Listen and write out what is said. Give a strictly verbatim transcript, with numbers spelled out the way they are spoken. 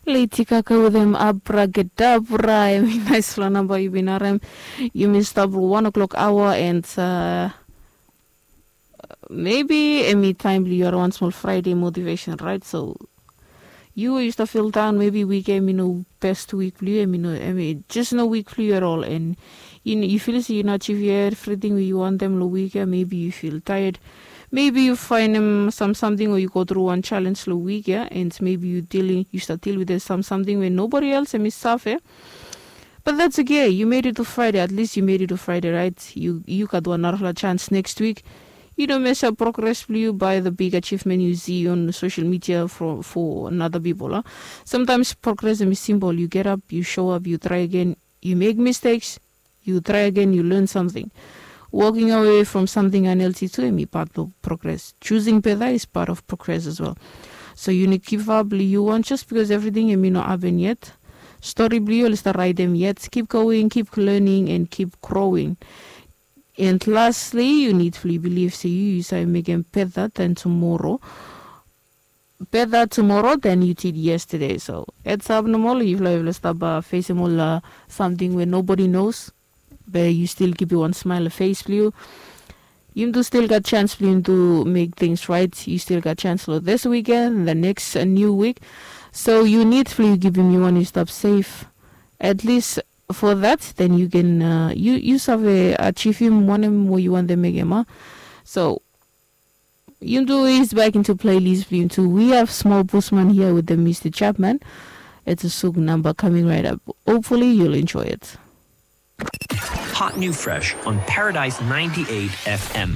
Lady Gaga wetem Abracadabra, em i naispela namba yu bin harem. Yumi stap long wan o'clock aoa, and mebi em i taem blong yu harem wan smol Friday motivation, rait? So yu we yu stap fil daon, mebi wik ya em i no best wik blong yu, em i no, em i jes no wik blong yu at all, and yu fil se yu no achievim evriting we yu wantem long wik ya. Mebi yu fil taed, mebi yu faenem sam samting o yu go tru wan challenge long wik ya, and mebi yu dealing, yu stap deal wetem sam samting we nobody else em i save. But that's okay. You made it to Friday. At least you made it to Friday, right? Yu gat wan narafala chance next week. Yu no mesap progress blong yu by the big achievement yu si on social media for, for another people, a? Sometimes progress em i simple. Yu get up, yu show up, yu try again, yu make mistakes, yu try again, yu learn something. Walking away from something unhealthy tu em i part of progress. Choosing better is part of progress as well. So yu no give up blong yu wan just because everything em i no happen yet. Story blong yu oli stap raetem yet. Keep going, keep learning, and keep growing. And lastly, yu nid blong yu bilif se yu yu save mekem better than tomorrow. Better tomorrow than you did yesterday. So heads up nomo long yufala, yufala stap uh, facem ol uh, something where nobody knows, but you still keep wan smile face blong yu. Yum tu still gat chance blong yum tu make things right. You still gat chance long this weekend, the next uh, new week. So you need blong yu givim yu wan yu stap safe. At least for that, then you can uh, you you save achievim wanem we yu wantem mekem, a? So Yum tu is back into playlist blong yum tu. We have Small Bushman here with the Mister Chapman. It's a suk number coming right up. Hopefully you'll enjoy it. Hot new fresh on Paradise ninety-eight F M.